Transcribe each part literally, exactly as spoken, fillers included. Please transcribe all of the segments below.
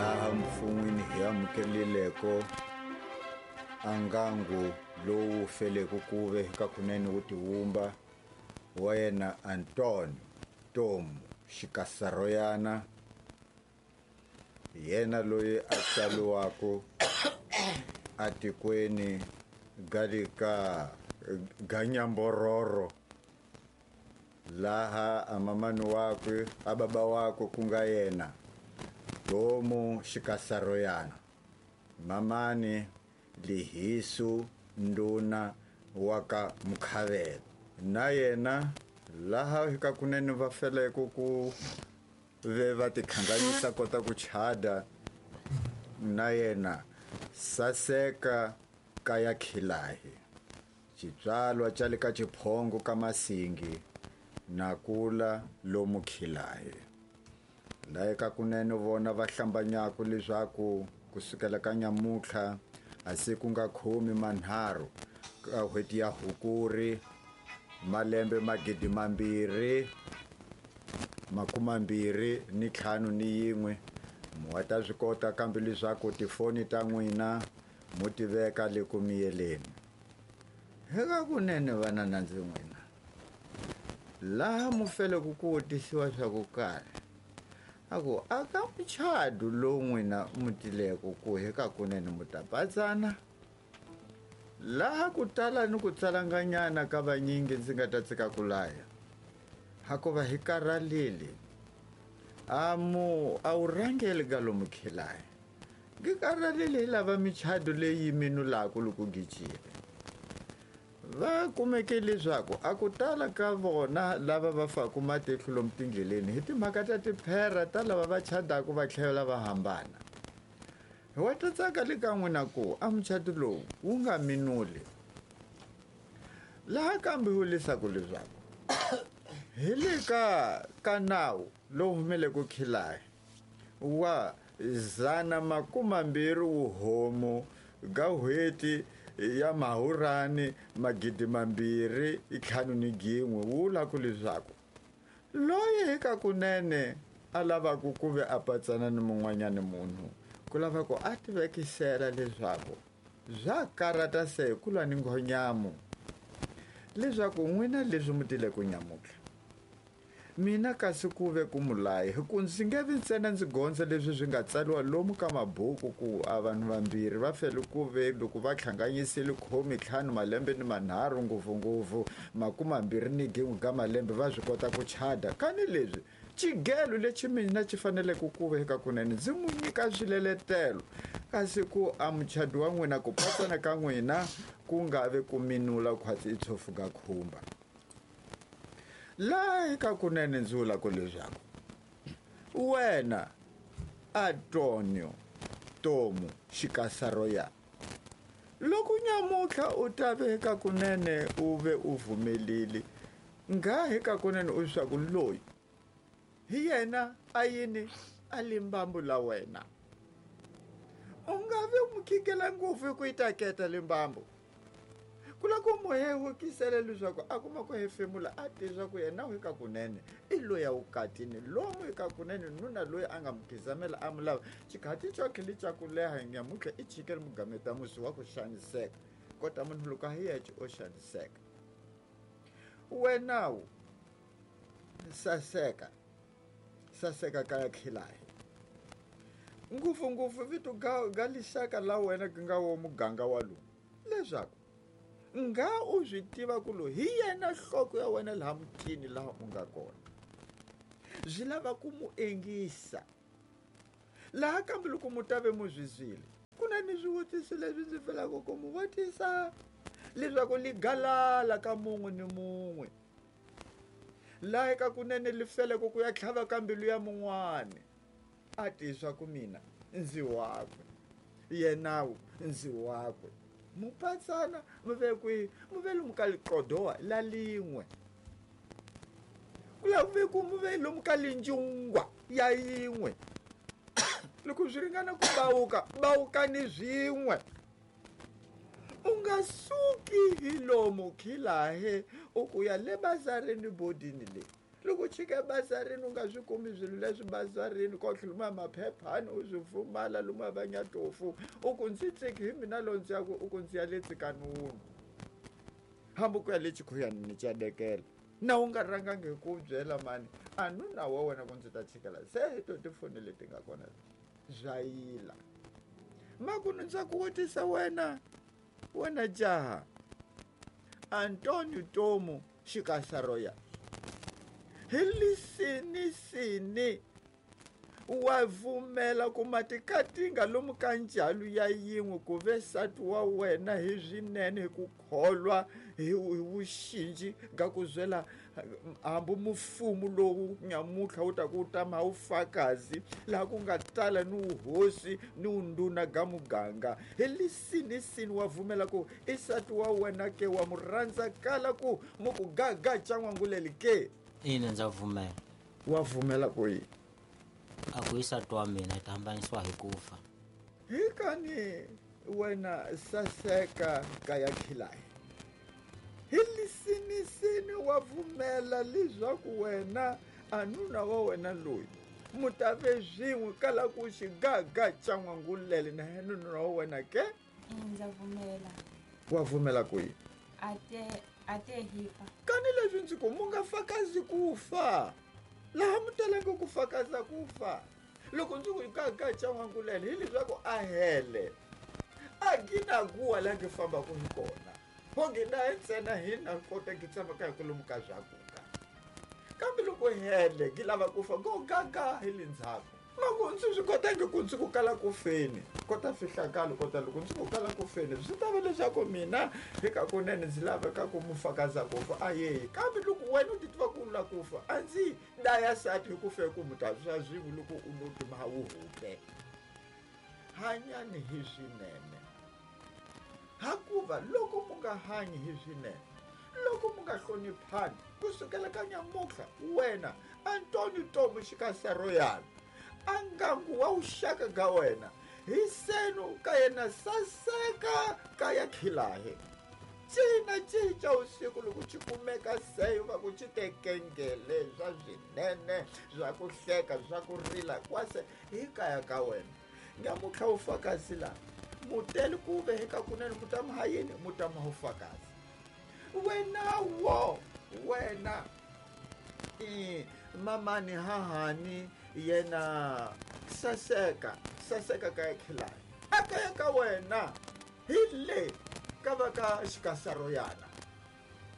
Laha mfun'wini hi amukelileko a ngangu lowu feleke kuve ka kunene wu tiwumba wa yena Antonio Tomu Xikasaroyana, yena loyi a tsaliwako atikweni galika Ganyambororo, laha amamani wakwe ababa wakwe ku nga yena Tomu Xikasaroyana, mamani Lihisu nduna wa ka Mukhavela. Na yena laha ka kunene va feleke ku ve va tikhanganyisa kota ku chada na yena Saseka kaya Khilahi, xitswalwa xa le ka Xiphongo ka Masingi na kula lomu Khilahi. Laha ka kunene vona va hlambanyaka leswaku kusukela ka nyamutlha a siku nga khume manharhu ka n'hweti ya Hukuri malembe magidi mambirhi makume mambirhi ni ntlhanu ni yin'we, mu wa ta swi kota kambe leswaku tifoni ta n'wina mu ti veka le ku miyeleni. Eka kunene vana na ndzi n'wina laha mu feleke ku vutisiwa swa ku karhi, a ku a ka muchadu lowu n'wina mu tileko ku eka kunene mu ta patsana. Laha ku tala ni ku tsalanganyana ka vanyingi ndzi nga ta tsika ku laya, hakuva hi karhalile a mu a wu rhangeli ka lomu khilayi, ngi karhalile hi lava michado leyi minulaka loko gijile. Va kumeke leswaku a ku tala ka vona lava va faku matihlo lomu tindleleni hi timhaka ta tiphera ta lava va chadaka va tlhela va hambana. Hi wa ta tsaka le ka n'wina ku a muchato lowu wu nga minuli. Laha kambe wu leswaku leswaku hi le ka ka nawu lowu humeleke Khilahi wa zana makume mbirhi wuhomu ga n'hweti ya Mahurani magidi mambirhi ntlhanu ni gin'we, wu vula ku leswaku loyi eka kunene a lavaka ku ve a patsana ni mun'wanyani munhu ku lava ku a tivekisela leswaku swa karata se ku lwa ni nghonyamu, leswaku n'wina leswi mu tile ku nyamutlha mina kasi ku ve ku mulayi, hi ku ndzi nge vi ntsena ndzi gondza leswi swi nga tsariwa lomu ka mabuku ku a vanhu vambirhi va fele ku ve loko va hlanganyisile khume ntlhanu malembe ni manharhu ngopfungopfu makume mambirhi ni gin'we ka malembe va swi kota ku chada. Kani leswi xigelo lexi mina xi faneleke ku ve eka kunene ndzi n'wi nyika swileletelo, kasi ku a muchado wa n'wina ku patsana ka n'wina ku nga vi ku minula khwatsi i tshofu ka khumba. Laha eka kunene ndzi vula ku leswaku wena Antonio Tomu Xikasaroya, loko nyamutlha u ta ve eka kunene u ve u vumelile nga eka kunene u swa ku loyi hi yena a yini a limbambu la wena, u nga vi mu khikela ngopfu hi ku yi taketa limbambu. Ku lava ku mu hehukisela leswaku a kuma ku hefemula a tiva ku yena eka kunene i loyi a vukatini lomu eka kunene nuna loyi a nga mu khizamela a mu lava xikhati xo tlhela xa ku leha nyamutlha i chikele mugameta musi wa ku xaniseka kota munhu loko a hi yexe o xaniseka. Wenawu Saseka Saseka kaya Khilahi, ngopfungopfu vito ga ga lixaka la wena ku nga wo muganga wa lowu, leswaku nga u swi tiva ku loyi hi yena nhloko ya wena laha mutini laha u nga kona, swi lava ku mu engisa. Laha kambe loko mu ta ve mu zwizile ku na ni swivutiso leswi ndzi felaka ku mu vutisa leswaku li galala ka mun'we ni mun'we, laha eka kunene li feleke ku ya tlhava ka mbilu ya mun'wani a tiswa ku mina ndzi wakwe yenawu ndzi wakwe. Mupatsana mu ve kwihi? Mu ve lomu ka liqodowa la lin'we, ku lava ku ve ku mu ve lomu ka linjungwa ya yin'we. Loko swi ringana ku bawuka bawukani swin'we, u nga suki hi lomu Khilahe u ku ya le bazareni bodini leyi Loko u chika bazarini u nga swi kumi swilo leswi bazarini ko tlhela maphephani u swi pfumala lomu va nyatofu u ku ndzi tsiki hi mina lo ndzi ya ku u ku ndzi ya le tsikanunu hambi ku ya le chikhuyani ni cadekela na u nga rhangangi hi ku byela mani a nuna wa wena ku ndzi ta chikela se hi to tifoni leti nga kona bya yila makunu ndza ku vutisa wena wena jaha Antonio Tomu Xikasaroya hi lisinisini wa vumela ku matikatinga lomu ka njalo ya yin'we ku ve nsati wa wena hi swinene hi ku kholwa hi vuxinji ga ku zwela hambi mufumu lowu nyamutlha wu ta ku tama wu fakazi laha ku nga tala ni wuhosi ni wundhuna ga muganga hi lisinisini wa vumela ku i nsati wa wena ke wa mu rhandza kala ku mu ku gaga ca n'wanguleli ke. Ina ndza pfumela. Wa pfumela ku yini? A ku i nsati wa mina hi ta hambanisiwa hi ku fa. Hi kani wena saseka ka ya khilayi hi lisinisini wa pfumela leswaku wena a nuna wa wena loyi mu ta ve swin'we kala ku xigaga xa n'wangulele na yena nuna wa wena ke? Ndza pfumela. Wa pfumela ku yini? A te a te hi fa. Kani leswi ndzi ku mu nga fakazi ku fa laha mu talangi ku fakaza ku fa loko ndzi ku gaga xa n'wangulele hi leswaku a hele a gina kuwa laha ngi fambaka hi kona ho gina hi ntsena hina kota ngi tshamaka hi kwalomu ka swakuka kambe loko hele ngi lava ku fa go gaga hi le ndzhaku mako ndzi swi kotangi ku ndzi ku kala ku feni kota fihlakalo kota loko ndzi ku kala ku feni swi ta va leswaku mina hi ka kunene ndzi laveka ku mu fakaza ku fa a yeyi kambe loko wena u ti tiva ku la ku fa a ndzi daya sati hi ku fe ku mu ta swa swin'we loko u no tima wu hupe hanyani hi swinene hakuva loko mu nga hanyi hi swinene loko mu nga hloniphani kusukela ka nyamutlha wena Antonio Tomu Xikasaroyana a ngangu wa wuxaka ga wena hi senu ka yena saseka ka ya khilahe cina cinca usiku loko xi kumeka seyo va ku xi tekengele swa swinene swa ku hleka swa ku rila kwase hi kaya ka wena nyamutlha wu fakazi laha muteli ku ve hi ka kunene mutama ha yini mutama wu fakazi wena wo wena i mamani hahani yena saseka saseka ka ya khilayi a kaya ka wena hi le ka va ka Xikasaroyana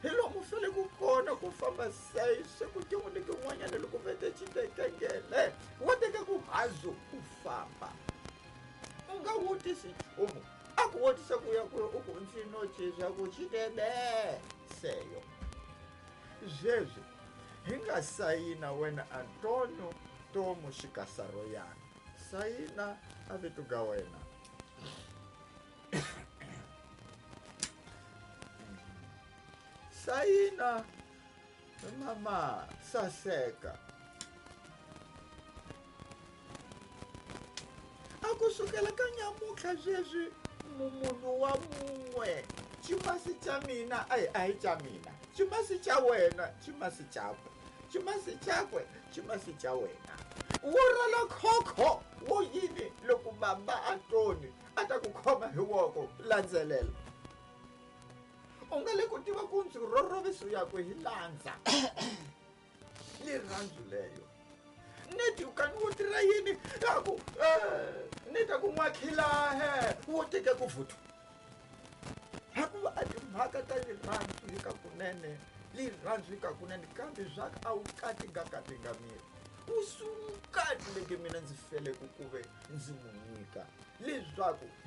hi lomu fele ku kona ku famba seyi se ku tin'we ni tin'wanyana loko vete xi tekengele wa teka ku hazu ku famba u nga vutisi nchumu a ku vutisa ku ya ku u ku ndzi no swa ku xi tebe seyo sweswi hi nga sayina wena Antonio Tomu Xikasaroyana sayina a vito ga wena sayina mama saseka a kusukela ka nyamutlha sweswi munhu wa mun'we ximasi xa mina a hi a hi xa mina ximasi xa wena ximasi xakwe ximasi xakwe ximasi xa wena wo rhwala khokho wo yini loko baba Antoni a ta ku khoma hi voko landzelela u nga le ku tiva ku ndzi rhorhoviso yakwe hi landza lirhandzu leyo neti kani wo tirha yini a ku ni ta ku n'wakhilahe wo teka ku vuthu hakuva a timhaka ta lirhandzu hi ka kunene lirhandzu hi ka kunene kambe swa a wu katingakatinga miri wu sukati leke mina ndzi fele ku kuve ndzi mu nyika leswaku